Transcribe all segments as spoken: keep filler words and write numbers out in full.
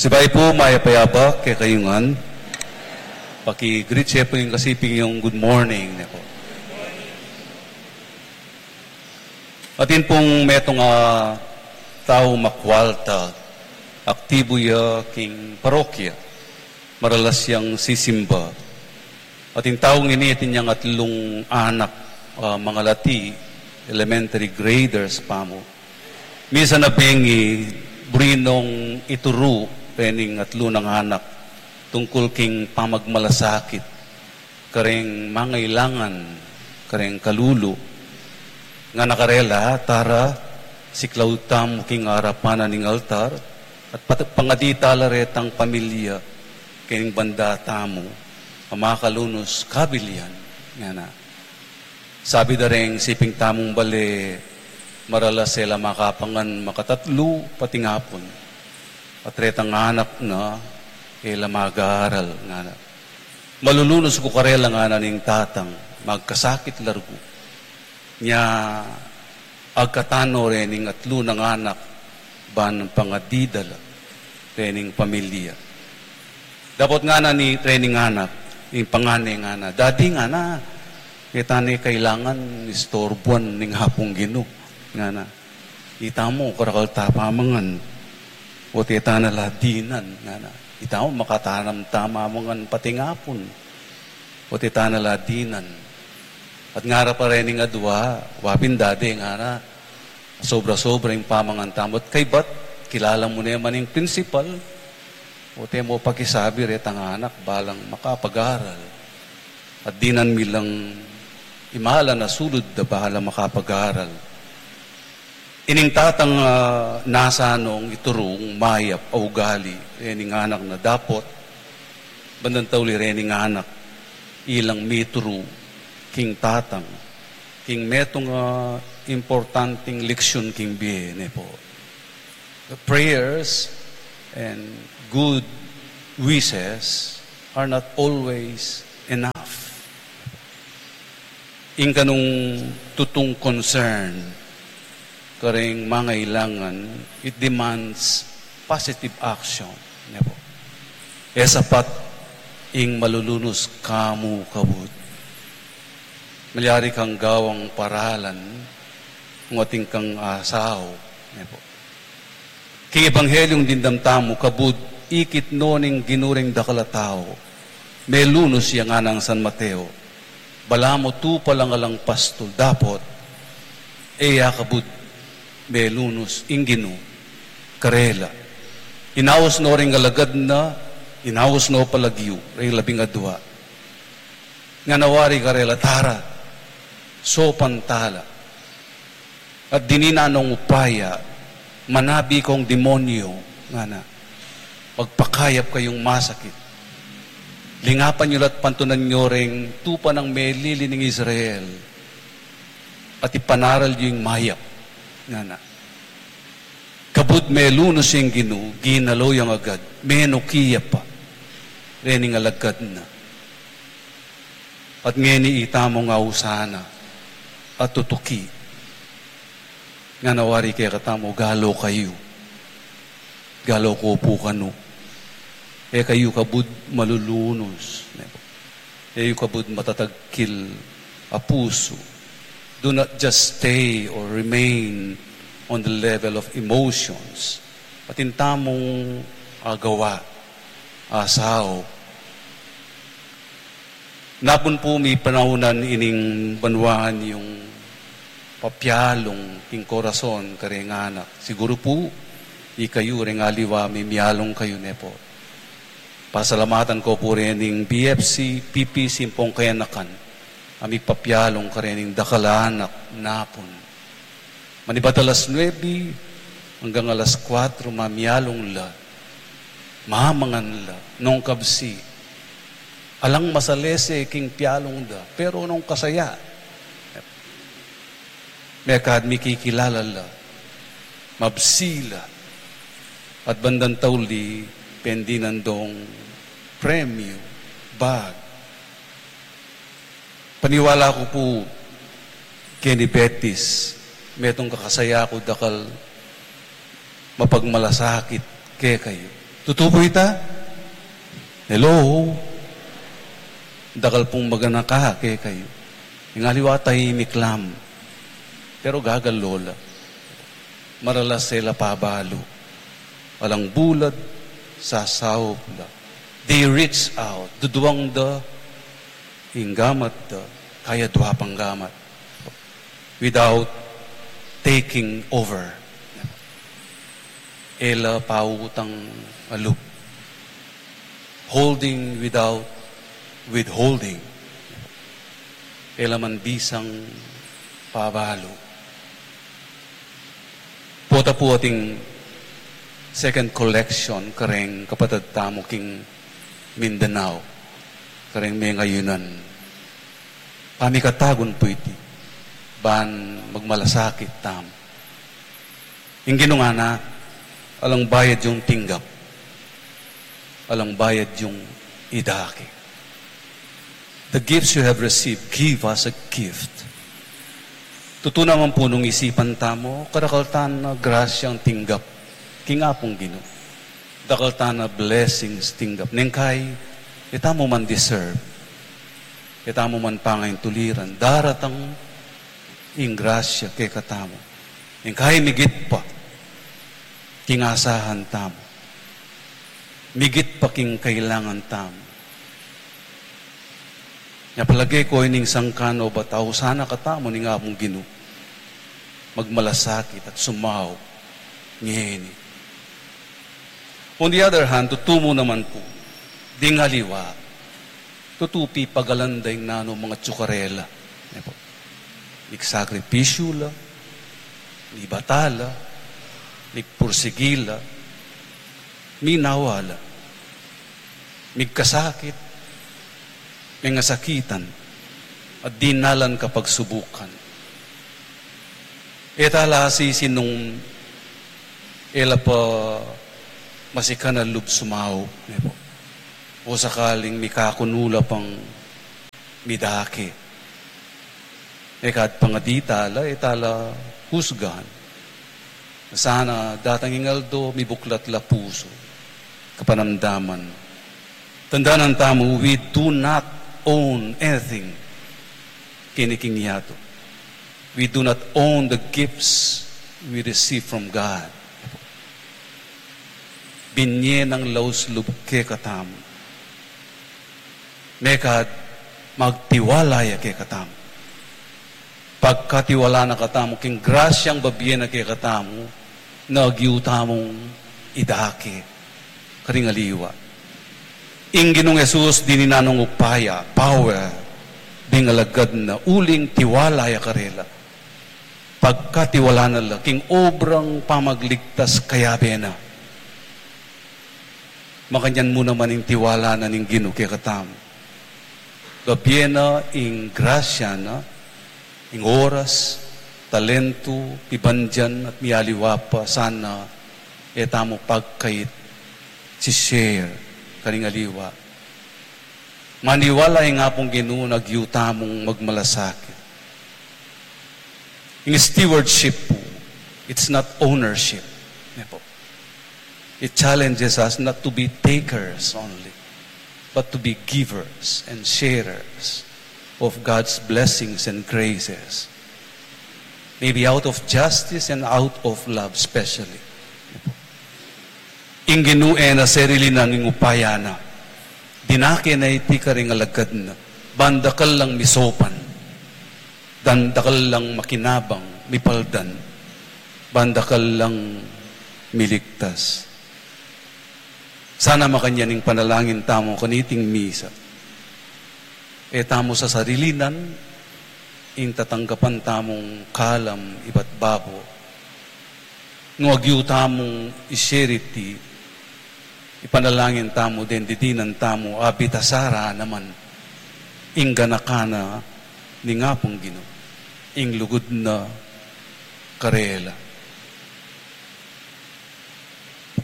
Sibayu pu, mayap a yabak kekayu ngan. Paki-greet ye pu ing kasiping yung good morning ne pu. Atin pung metung a tau makwalta, aktibu ya king parokya, maralas yang sisimba. Atin taung ini, atin yang atlung anak, ah, mangalati, elementary graders pa mu. Misan a bengi, buri nong ituru rening atlu nang anak tungkul king pamagmalasakit kareng mangailangan, kareng kalulu. Ngana karela, tara, siklaud tamu king arapan na ning altar, at pat-, pangadi tala retang pamilya king banda tamu a makalunus kabilian, ngana. Sabi da reng siping tamung bale, maralas e la makapangan makatatlu patingapun, at retang anak na e la mag-aaral, ngana. Malulunus ku karela, ngana ning tatang, magkasakit largu. Nya agkatano rening atlu nang anak ban pangadi da la rening pamilya. Dapot ngana ni rening anak, ing pangane ngana, "Dadi," ngana, "e ta ne kailangan istorbuan ning Apung Ginu," ngana. "Ita mu, karakal ta pamangan, o't e ta na la dinan," ngana. "Ita mu, makatanam ta mamangan patingapun, o't e ta na la dinan." At ngara pa rening adua, "Wa pin, Dadi," ngana, "sobra-sobra ing pamangan tamu. At kaybat, kilala mu ne man ing principal, o't e mu pakisabi retang anak ba lang makapag-aral. At dinan mi lang imalan a sulud da ba lang makapag-aral." Ining tatang, ah, nasa nong iturung mayap a ugali rening anak na, dapot bandang tauli rening anak, ilang mituru king tatang king metung a importanting leksyun king bie ne pu. The prayers and good wishes are not always enough. Ing kanung tutung concern kareng mangailangan, it demands positive action, ne pu. E sapat ing malulunus ka mu kabud. Malyari kang gawang paralan, nung atin kang asawa, ne pu. King Ebanghelyung dimdam tamu, kabud ikit no ning Ginu reng dakal a tau, melunus ya, nganang San Mateo. Balamu tupa lang alang pastul, dapot e ya kabud melunus ing Ginu karela. Inaus no reng alagad na, inaus no pa lagyu, reng labing adua. Ngana wari karela, tara, sopan tala. At dininan nong upaya, manabi kong demonyo, ngana, magpakayap kayung masakit. Lingapan yu la't pantunan yu reng tupa nang melili ning Israel, at ipanaral yu ing mayap, ngana. Kabud melunus ing Ginu, ginalo yang agad, menuki ya pa rening alagad na. At ngeni ita mung ausan na at tutuki. Ngana wari kekatamu, galo kayu. Galo ku pu kanu. E kayu kabud malulunus. E yu kabud matatagkil a pusu. Do not just stay or remain on the level of emotions. Atin tamung agawa, asau. Napun pu mi panaunan ining banwaan yung papialung king korason kareng anak. Siguru pu, ikayu reng aliwa mimialung kayu, ne pu. Pasalamatan ku pu rening B F C, P P C, ampong kayanakan a mipapialung karening dakal a anak napun. Manibat alas nuebe anggang alas kuatro mamialung la, mamangan la, nung kabsi, alang masalese king pialung da, pero nung kasaya, mekad mikikilala la, mabsi la, at bandang tauli pendinan dong premyu, bag. Paniwala ku pu, keni Betis, metung kakasaya ku dakal mapagmalasakit kekayu. Tutu pu ita? Hello? Dakal pung maganaka kekayu. Ing aliwa tahimik la mu. Pero gagalo la. Maralas e la pabalu. Alang bulad, sasaup la. They reach out. Duduang da ing gamat da, kaya dua pang gamat. Without taking over. E la pautang a lub. Holding without withholding. E la man bisang pabalu. Pota pu ating second collection kareng kapatad tamu king Mindanao, kareng mengayunan. Pamikatagun pu iti, ban magmalasakit tamu. Ing Ginu ngana, alang bayad yung tinggap, alang bayad yung idake. The gifts you have received, give as a gift. Tutu naman pu nung isipan tamu, karakal tana grasyang tinggap king Apung Ginu. Dakal tana blessings tinggap. Neng kai, e tamu man deserve. E tamu man pangaintuliran. Daratang ing grasya kekatamu. Neng kai migit pa king asahan tamu. Migit pa king kailangan tamu. Nya palage ko ining sangkan o bata, sana katamu ning Apung Ginu magmalasakit at sumaup ngeni. On the other hand, tutu mu naman pu, ding aliwa, tutu pipagalan da ing nanu mangatsu karela. Ne pu? Migsakripisyu la, mibata la, migpursigi la, minawa la, migkasakit, mengasakitan, at dinalan kapagsubukan. E tala sisi nung e la pa masikan a lub sumaup, ne pu? O sakaling mikakunu la pang midake. E kadi pang a di tala, e tala husgan. Sana datang ing aldo, mibuklat la pusu, kapanamdaman. Tandanan tamu, we do not own anything keni king yatu. We do not own the gifts we receive from God. Binye nang laus lub kekatamu. Mekad magtiwala ya kekatamu. Pagkatiwala na katamu king grasyang babie na kekatamu, na agyu tamung idake karing aliwa. Ing Ginung Jesus dininan nang upaya, power, ding alagad na uling tiwala ya karela. Pagkatiwala na la king obrang pamagligtas kayabe na. Makanyan mu naman ing tiwala na ning Ginu kekatamu. Babie na ing grasya na, ing oras, talentu, pibandian, at mialiwa pa sana e tamu pagkait si-share karing aliwa. Maniwala ing Apung Ginu na agyu tamung magmalasakit. Ing stewardship pu, it's not ownership. Ne pu? It challenges us not to be takers only, but to be givers and sharers of God's blessings and graces. Maybe out of justice and out of love, especially. Ing Ginu e na sarili nang ing upaya na. Dinake na iti karing alagad na. Ban dakal lang misopan. Ban dakal lang makinabang, mipaldan. Ban dakal lang miligtas. Sana makanyan ing panalangin tamu kaniting misa. E tamu sasarilinan ing tatanggapan tamung kalam ibat babo. Nung agyu tamung i-share iti, ipanalangin tamu, deng didinan tamu, abitasara naman ing ganaka na ning Apung Ginu, ing lugud na karela.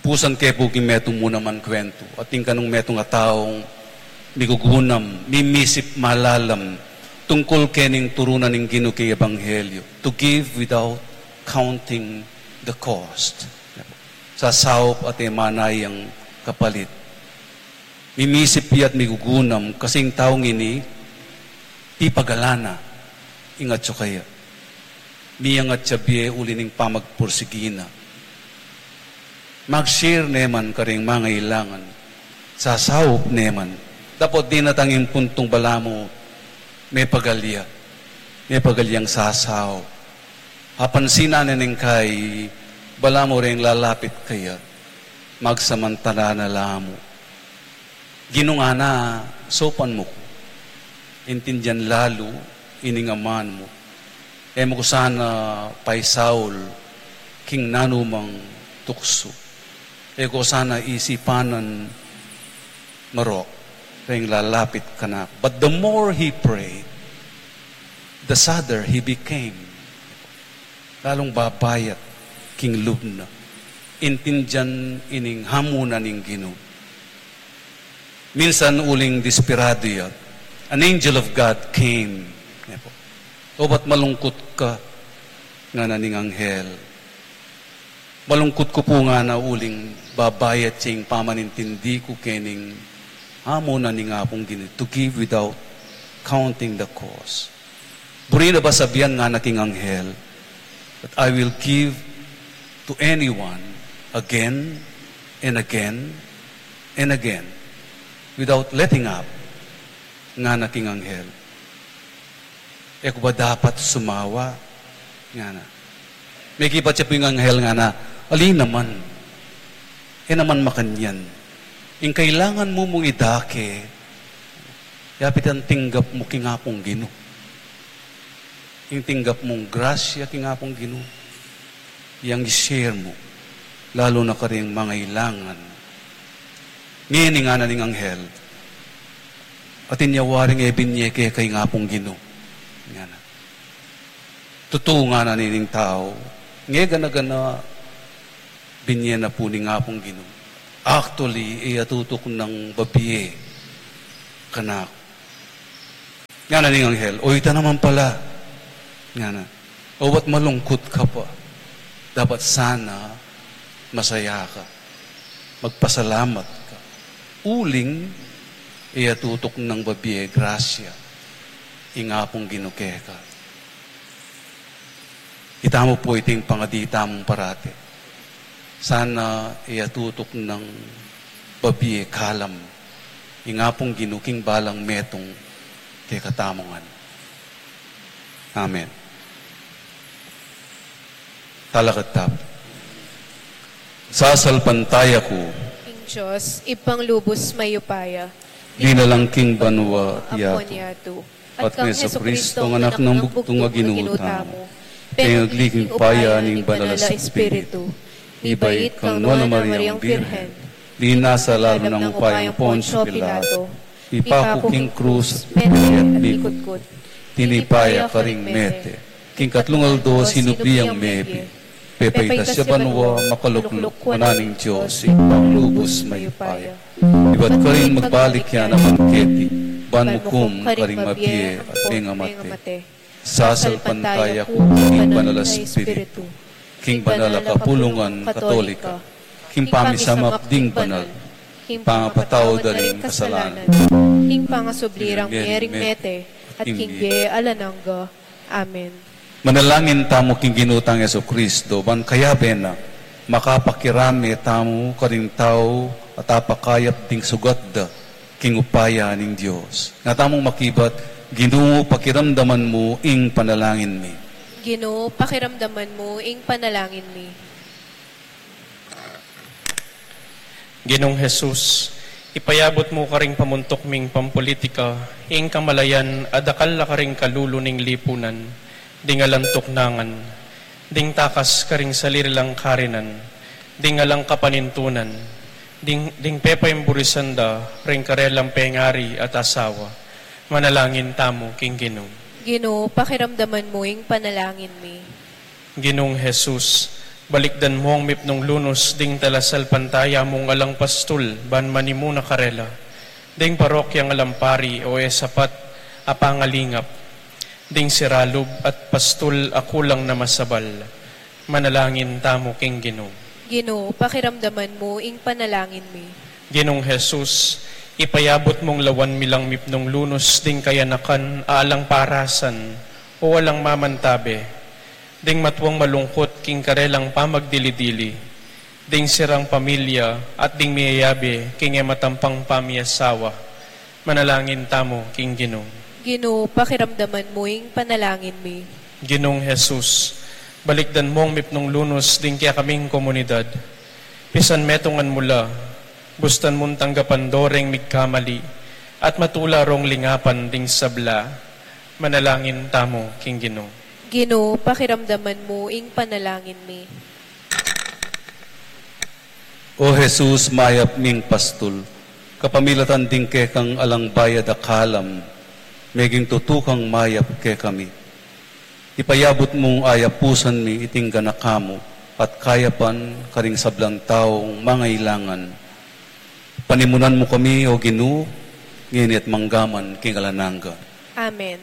Pusan ke pu king metung mu naman kuwentu, atin kanung metung a taung migugunam, mimisip malalam tungkul kening turu na ning Ginu king Ebanghelyo, to give without counting the cost. Sasaup at e manayang kapalit. Mimisip ya at migugunam, kasi ing taung ini, pipagalan na ing atsu kaya. Miyangat ya bie uli ning pamagpursigi na. Mag-share ne man karing mangailangan. Sasaup ne man. Dapot dinatang ing puntung balamu, mepagal ya. Mepagal yang sasaup. Apansinan ne ning kai, balamu reng lalapit kaya. Magsamantala na la mu. Ginu, ngana, saupan mu ku. Intindian lalu ining aman mu. E mu ku sana paisaul king nanumang tuksu. E ku sana isipanan marok reng lalapit kanaku. But the more he prayed, the sadder he became. Lalung babayat king lub na. Intindian ining hamunan ning Ginu. Minsan uling desperado ya, an angel of God came. Obat malungkut ka, ngana ning anghel. Malungkut ku pu, ngana, uling babayat ya ing pamanintindi ku kening hamunan ning Apung Ginu, to give without counting the cost. Buri na ba sabian, ngana king anghel, that I will give to anyone again and again and again without letting up, ngana king anghel. E ku ba dapat sumawa? Ngana. Mekibat ya pu ing anghel, ngana, ali naman. E naman makanyan. Ing kailangan mu mung idake, yapit ing tinggap mu king Apung Ginu. Ing tinggap mung grasya king Apung Ginu, yang i-share mu, lalu na karing mangailangan. Ngeni, ngana ning anghel, atin ya waring e binye keka ing Apung Ginu. Ngana. Tutu, ngana ning tau, nge gana-gana binye na pu ning Apung Ginu. Actually, e ya tutuknang babie kanaku. Ngana ning anghel, o ita naman pala. Ngana, obat malungkut ka pa, dapat sana masaya ka. Magpasalamat ka. Uling, e ya tutuknang babie grasya ing Apung Ginu keka. Itamu pu iting pangadi tamung parati. Sana e ya tutuknang babie kalam ing Apung Ginu king balang metung kekatamu ngan. Amen. Talakad tamu. Sasalpantaya ku king Dios, Ibpang lubus mayupaya, dinalang king banua at yatu, at kang Jesucristo, anak nang bugtung a Ginu tamu, pengagli king upaya ning Banal a Espiritu, mibait kang Nuan a Mariang Birhen, linasa lalu nang upayang Poncio Pilato, mipaku king krus, mete at mikutkut, tinipa ya karing mete, king katlung aldo sinubli yang mebie, pepaitas ya banua, makalukluk wanan ning Dios, Ibpang lubus mayupaya. Ibat karin magbalik ya naman keti, ban mukum karing mabie at mengamate. Sasalpantaya ku king Banal a Espiritu, king banal a kapulungan Katolika, king pamisamak ding banal, king pangapatawad da ring kasalanan, king pangasubli rang miering mete, at king bie alang angga. Amen. Manalangin tamu king Ginu tang Jesucristo, ban kayabe na, makapakirame tamu karing tau at apakayap ding sugat da king upaya ning Dios. Nga tamung makibat, Ginu, pakiramdaman mu ing panalangin mi. Ginu, pakiramdaman mu ing panalangin mi. Ginung Jesus, ipayabut mu karing pamuntuk ming pampulitika ing kamalayan a dakal la karing kalulu ning lipunan, ding alang tuknangan, ding takas karing sarili lang karinan, ding alang kapanintunan, ding, ding pepaimburisan da ring karelang pengari at asawa. Manalangin tamu king Ginu. Ginu, pakiramdaman mu ing panalangin mi. Ginung Jesus, balikdan mu ing mipnung lunus ding talasalpantaya mung alang pastul ban manimuna karela, ding parokyang alang pari o e sapat a pangalingap, ding siralub at pastul a kulang na masabal. Manalangin tamu king Ginu. Ginu, pakiramdaman mu ing panalangin mi. Ginung Jesus, ipayabut mung lawan mi lang mipnung lunus ding kayanakan a alang parasan o alang mamantabe, ding matuang malungkut king karelang pamagdili-dili, ding sirang pamilya at ding miyayabe king e matampang pamiasawa. Manalangin tamu king Ginu. Ginu, pakiramdaman mu ing panalangin mi. Ginung Jesus, balikdan mung mipnung lunus ding kekaming komunidad. Pisan metungan mu la, bustan mung tanggapan do reng migkamali, at matula rong lingapan ding sabla. Manalangin tamu king Ginu. Ginu, pakiramdaman mu ing panalangin mi. O Jesus, mayap ming pastul, kapamilatan ding kekang alang bayad a kalam, meging tutu kang mayap kekami. Ipayabut mung ayapusan mi iting ganaka mu at kayapan karing sablang taung mangailangan. Panimunan mu kami, O Ginu, ngeni at manggaman king alang angga. Amen.